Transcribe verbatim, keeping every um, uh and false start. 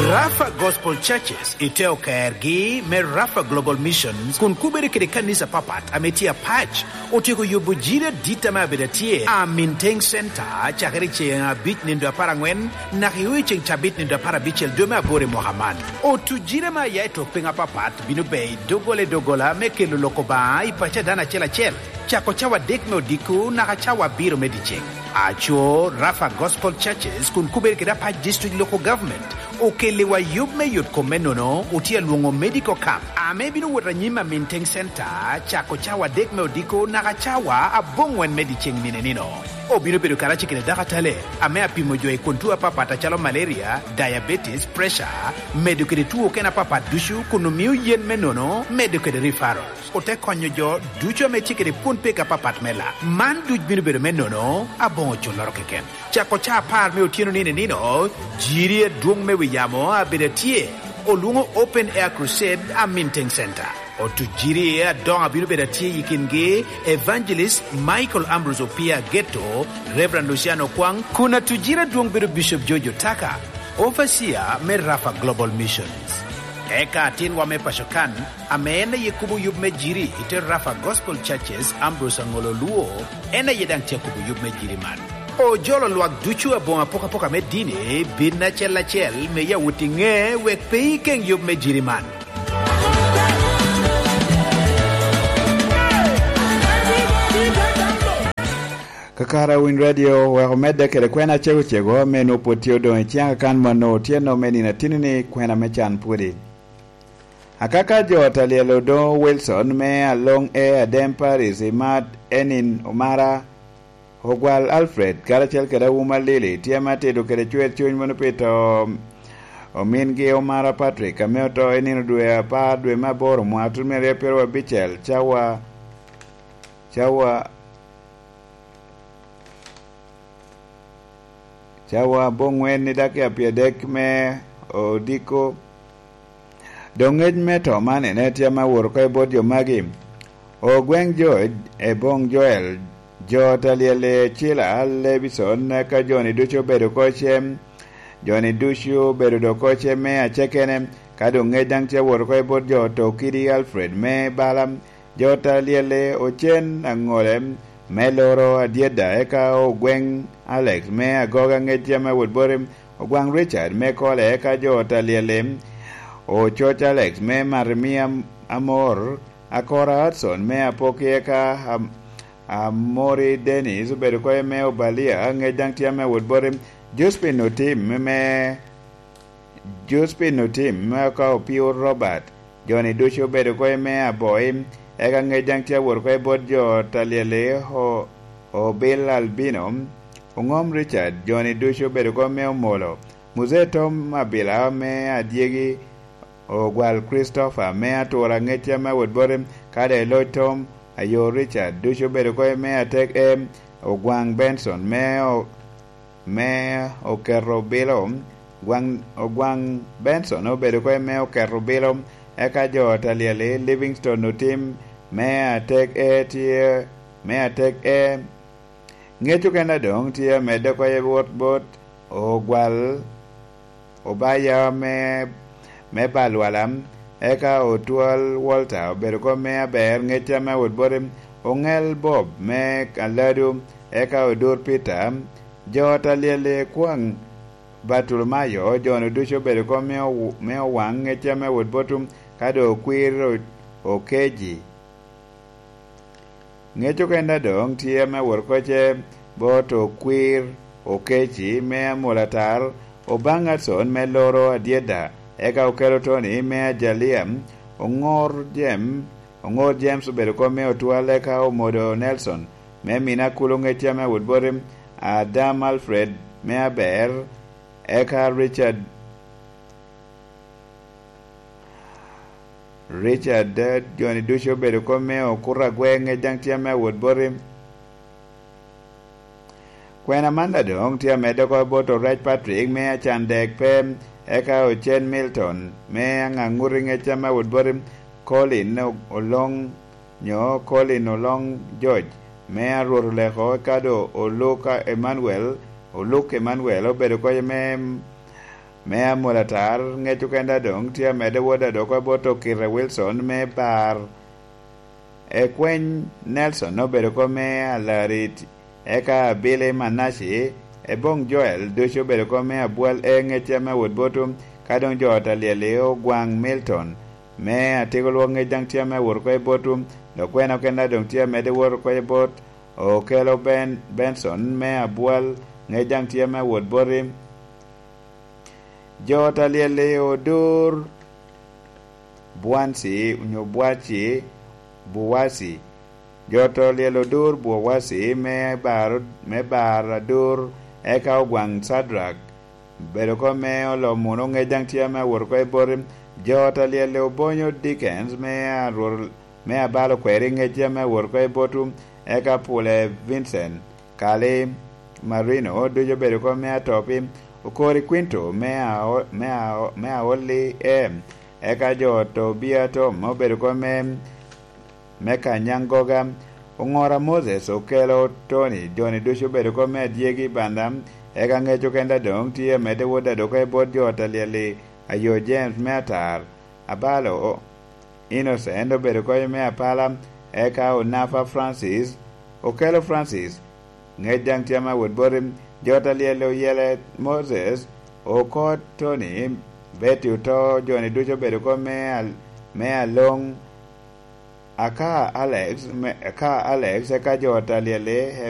Rafa Gospel Churches i te okergi me Rafa Global Missions kun kubere kede kanisa papat ame tye apac, otyeko yubo jiri adit ame abedo atye a Minteng Center cakere i ceŋ abic nindo apar aŋwen naka i ceŋ cabit nindo apar abicel dwe me aboro i mwaka man. Otu jiri ame aya i tok piny apapat bino ber i doggola i doggola me kelo lok Obaŋa i paco a dano acel acel, cako cawa adek me odiko naka cawa abiro me dyeceŋ. Aco Rafa Gospel Churches kun kubere kede apac district local government okelliwa yub me yot kom me nono otye alwoŋo medical camp ame bino wot anyim a Minteng Center cako cawa adek me odiko naka cawa aboŋwen me dyeceŋ nino nino. Obino bedo karacel kede dakatale ame apimo jo i kun tuo apapat acalo malaria, diabetes, pressure, medo kede tuo okene apapat ducu kun omio yen me nono medo kede referral. Ote konyo jo ducu ame tye kede pwon pek apapat me lak. Man duc bino bedo me nono aboŋo culloro keken. Cako ca apar me otyeno nino nino, jiri adwoŋ me wi yamo abedo atye, olwoŋo Open Air Crusade a Minteng Center. Otu jiri adoŋo abino bedo atye i kingi Evangelist Michael Ambrose Opia Geto, Reverend Luciano Kwang, kun atu jiri adwoŋ bedo Bishop George Otaka, Overseer me Rafa Global Missions. Eka atinwa me paco kan, ame en aye kubo yub me jiri i te Rafa Gospel Churches, Ambrose Aŋolo Luo, en aye daŋ tye akubo yub me jiri man. Ojolo lwak ducu aboŋo apokapoka me dini bin acel acel me yawot i ŋe wek pe ikeŋ yub me jiri man. Kakara Winy Radio wek omedde kede kwena cego cego ame nwoŋo pwod tye odoŋ i ciŋ akan mano otyeno me nino atini-ni, kwena me can pwodi. Akaka jo ta lyel Odoŋo Wilson me Aloŋ E Adem Paris, Imat Enin Omara, Ogwal Alfred, karacel kede Awuma Lili, tye ame atito kede cwer cuny mono pi to omingi Omara Patrick, ame oto i nino dwe apar dwe me aboro mwaka tun me aryo pyeraryo abicel, cawa, cawa, cawa aboŋwen i dakika pyeradek me odiko. Doŋ ŋec me to man ene tye ame awot oko i bot jo magi. Ogweŋ jo i boŋ Joel, jo ta lyel i Cila, Lebison, eka jo-ni ducu obedo oko cem, jo-ni ducu obedo doŋ oko cem me acakene, ka doŋ ŋec daŋ tye awot oko i bot jo oto kidi Alfred me bala, jo ta lyel i Ocen Aŋole me Loro Adyeda, eka Ogweŋ Alex me Agoga ŋec tye ame awot boti, Ogwaŋ Richard me Kole, eka jo ta lyel i Ococ Alex me Marimia Amor, Akora Hudson me Apoki, eka Am-, Amori Dennis obedo oko me Obalia, ŋec daŋ tye ame awot boti, Josephine Otim me, Josephine Otim me eka Opio Robert, jo-ni ducu obedo oko me Aboi, eka ŋec daŋ tye awot oko i bot jo ta lyel i O-, Obil Albino, Oŋom Richard, jo-ni ducu obedo oko me Omolo, Muzee Tom Abila me Adyegi, Ogwal Christopher me Atura ŋec tye ame awot boti, ka doŋ i Loc Tom, Ayo Richard, ducu obedo oko me Atek E, Ogwaŋ Benson me O-, me Oketo Bilo, Ogwaŋ, Ogwaŋ Benson obedo oko me Oketo Bilo, eka jo ta lyel i Livingstone Otim me Atek E tye, me Atek E, Ŋec okene doŋ tye amedde oko i wot bot Ogwal Obaya me, me Balwala, eka Otwal Walter obedo oko me Aber, ŋec tye ame awot boti, Oŋel Bob me Aladu, eka Odur Peter, jo ta lyel i Kwaŋ Bartolomayo, jo-nu ducu obedo oko me ow-, me Owaŋ, ŋec tye ame awot boti, ka doŋ Okwir O-, Okeji. Ŋec okene doŋ tye ame awot oko ce bot Okwir Okeci me Amolatar, Obaŋ Adson me Loro Adyeda, eka Okello Tony me Ajalia, Oŋor Jem-, Oŋor James obedo oko me Otwal, eka Omodo Nelson me Mina Kulu, ŋec tye ame awot boti, Adam Alfred me Aber, eka Richard Richard, eh, jo-ni ducu obedo oko me okuto agwe, ŋec daŋ tye ame awot boti. Kwena man daŋ doŋ tye amedde oko bot Orec Patrick me Acandek pe, eka Ocen Milton me Aŋaŋuti, ŋec tye ame awot boti. Colin O-, Oloŋ, nyo Colin Oloŋ George me Arwot Oleko, eka doŋ Oluk Emmanuel, Oluk Emmanuel obedo oko me me amol atar, ŋec okenda doŋ tye amedde wot adoko bot Okite Wilson me bar. Ekweny Nelson obedo kop me Alarit, eka Billy Manaci, Ebong Joel ducu obedo kop me abwal e ŋec ame awot botu, ka doŋ jo ot alyel-li Ogwaŋ Milton me Atiko Lwok ŋec daŋ tye ame awot oko i botu, dok kwena okenda doŋ tye amedde wot oko i bot Okelo Ben Benson me abwal ŋec daŋ tye ame awot boti. Jo ot alyel-li Odur Bwansi onyo Bwaci Buwasi. Jo ot alyel Odur Buwasi me bar, me bar adur, eka Ogwaŋ Cadrak bedo oko me Olomuno ŋec daŋ tye ame awot oko i boti. Jo ot alyel Obonyo Dickens me arwor, me abalo kweri ŋec tye ame awot oko i botu, eka Pule Vincent, Kali Marino ducu obedo oko me Atopi, Okori Quinto me Ao-, me Ao-, me Aoli e, eka jo ot Obia Tom obedo oko me, me Kanyangoga, Oŋora Moses, Okelo Tony, joni ducu obedo oko me Adyegi Banda, eka ŋec okenda doŋ tye amedde wot adoko i bot jo ot alyel-li, Ayo James me Atar, Abalo Innocent obedo oko me Apala, eka Onafa Francis, Okelo Francis, ŋec daŋ tye ame awot boti, jo ot alyel Oyele Moses, Okot Tony, Betty Oto, joni ducu obedo oko me Al-, me Aloŋ, Aka Alex, me, Aka Alex, eka jo ot alyel-li